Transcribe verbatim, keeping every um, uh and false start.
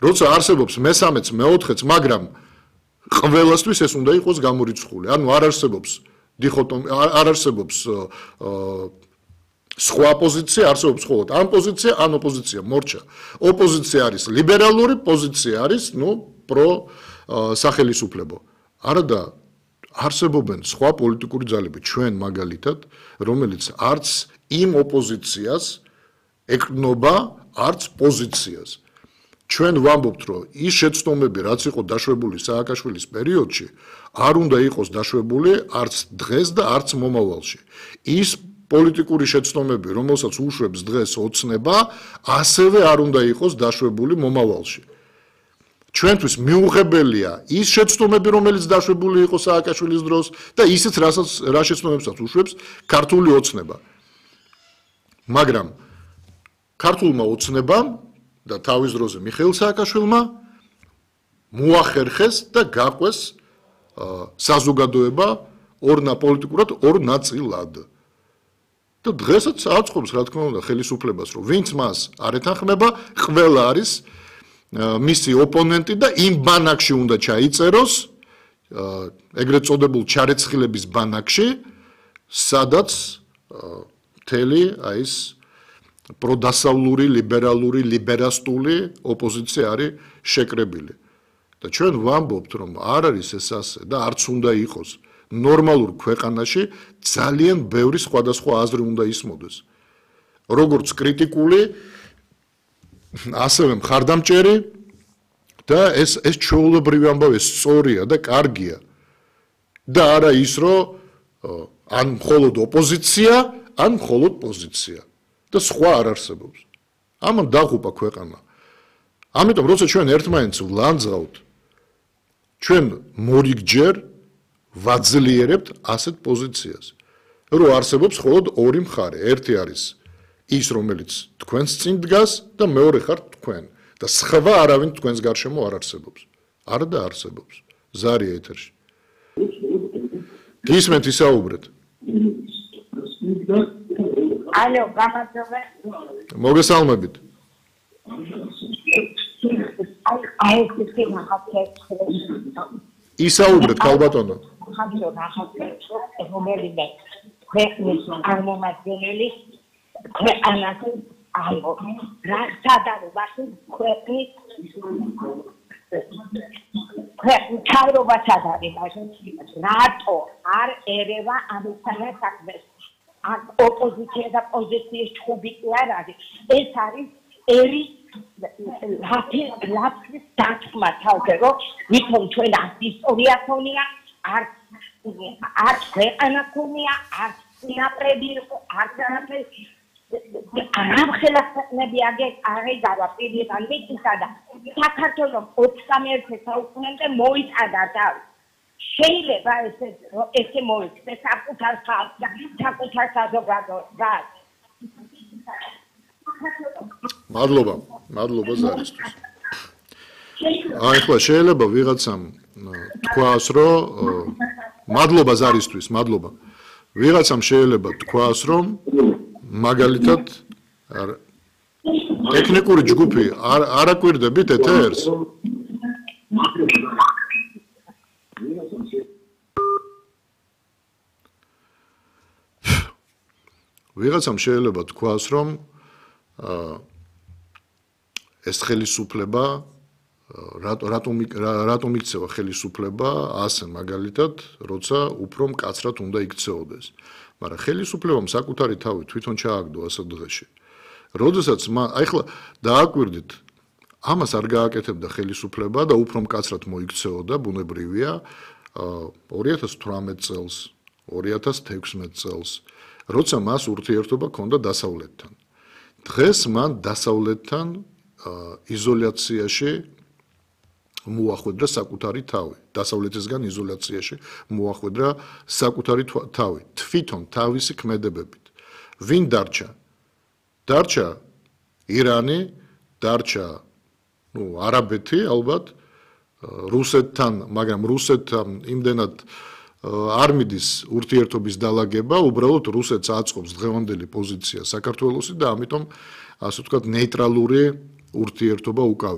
როცა არსებობს მესამეც, მეოთხეც, მაგრამ ყველასთვის ეს უნდა იყოს გამორიცხული. ანუ არ არსებობს დიხოტომი, არ არსებობს სხვა პოზიცია, არსებობს მხოლოდ ან პოზიცია, ან ოპოზიცია, მორჩა. ოპოზიცია არის ლიბერალური, პოზიცია არის, ну, პრო სახელისუფლებო. არადა არსებობენ სხვა პოლიტიკური ძალები, ჩვენ მაგალითად, რომელიც არც იმ ოპოზიციას ეკნობა, არც პოზიციას. ჩვენ ვამბობთ, რომ ის შეცდომები, რაც იყო დაშვებული სააკაშვილის პერიოდში, არ უნდა იყოს დაშვებული არც დღეს და არც მომავალში. ის პოლიტიკური შეცდომები, რომელსაც უშვებს დღეს ოცნება, ასევე არ უნდა იყოს დაშვებული მომავალში. ჩვენთვის მიუღებელია ის შეცდომები, რომელიც დაშვებული იყო სააკაშვილის დროს და ისიც, რასაც რა შეცდომებსაც უშვებს ქართული ოცნება. მაგრამ ქართულმა ოცნებამ და თავის დროზე მიხეილ სააკაშვილმა მოახერხეს და გაყვეს საზოგადოება ორ პოლიტიკურად ორ ნაწილად. და დღესაც აწყობს, რა თქმა უნდა, ხელისუფლებას, რომ ვინც მას არ ეთანხმება, ყველა არის მისი ოპონენტი და იმ ბანაკში უნდა ჩაიწეროს, ეგრეთ წოდებულ ჩარეცხილების ბანაკში, სადაც მთელი აი ეს პროდასავლური, ლიბერალური, ლიბერასტული ოპოზიცია არის შეკრებილი. და ჩვენ ვამბობთ, რომ არ არის ეს ასე და არც უნდა იყოს. ნორმალურ ქვეყანაში ძალიან ბევრი სხვადასხვა აზრი უნდა ისმოდეს. როგორც კრიტიკული, ასევე მხარდამჭერი და ეს ეს ჩვეულებრივი ამბავი სწორია და კარგია. და არა ის, რომ ან მხოლოდ ოპოზიცია, ან მხოლოდ პოზიცია. და სხვა არ არსებობს. ამან დაღუპა ქვეყანა. ამიტომ როცა ჩვენ ერთმანეთს ვლანძღავთ, ჩვენ მორიგჯერ ვაძლიერებთ ასეთ პოზიციას. რომ არსებობს მხოლოდ ორი მხარე. ერთი არის ის, რომელიც თქვენს წინ დგას და მეორე ხართ თქვენ. და სხვა არავინ თქვენს გარშემო არ არსებობს. არა და არსებობს. ზარია ეთერში. გისმენთ ისაუბრეთ. ალო, გამარჯობა. მოგესალმებით. აი, ეს ნახავთ. ისაუბრეთ, ქალბატონო. ხაბიო ნახავთ, რომელიმე ქვეყნის წარმომადგენელი ქვეყანას აიღო. რა სადარობაში ქვეყნის ქვეყნის თავრობას ადარებაში რატო არ ერევა ამისთანაც საქმეს? ან ოპოზიცია და პოზიციის ჩხუბი კი არ არის. ეს არის ერი ლაფის დათქმა თავზე, რომ ვითომ ჩვენ არც ისტორია ქონია, არც არც ქვეყანა ქონია, არც წინაპრები იყო, არც არაფერი. არამხელა ქვეყნები აღეგავა პირიდან მიწისა და საქართველოს ოცდამეერთე საუკუნემდე მოიწადა თავი. შეიძლება ესე ესე მოიქცეს საკუთარ ხალხს და საკუთარ საზოგადოებას. მადლობა, მადლობა ზარისთვის. აი ხო, შეიძლება ვიღაცამ თქვას, რომ მადლობა ზარისთვის, მადლობა. ვიღაცამ შეიძლება თქვას, რომ მაგალითად ტექნიკური ჯგუფი არ არაკვირდებით ეთერს. ვიღაცამ შეიძლება თქვას, რომ ეს ხელისუფლება რატომ რატომ იქცევა ხელისუფლება ასე მაგალითად, როცა უფრო მკაცრად უნდა იქცეოდეს. მაგრამ ხელისუფლებამ საკუთარი თავი თვითონ ჩააგდო ასეთ დღეში. როდესაც აი ხლა დააკვირდით, ამას არ გააკეთებდა ხელისუფლება და უფრო მკაცრად მოიქცეოდა, ბუნებრივია, ორი ათას თვრამეტ წელს, ორი ათას თექვსმეტ წელს, როცა მას ურთიერთობა ჰქონდა დასავლეთთან. დღეს მან დასავლეთთან იზოლაციაში მოახვედრა საკუთარი თავი. დასავლეთისგან იზოლაციაში მოახვედრა საკუთარი თავი. თვითონ თავისი ქმედებებით. ვინ დარჩა? დარჩა ირანი, დარჩა, ну, არაბეთი ალბათ, რუსეთთან, მაგრამ რუსეთთან იმდენად არ მიდის ურთიერთობის დალაგება, უბრალოდ რუსეთს აწყობს დღევანდელი პოზიცია საქართველოსი და ამიტომ ასე ვთქვათ ნეიტრალური ურთიერთობა უკავია.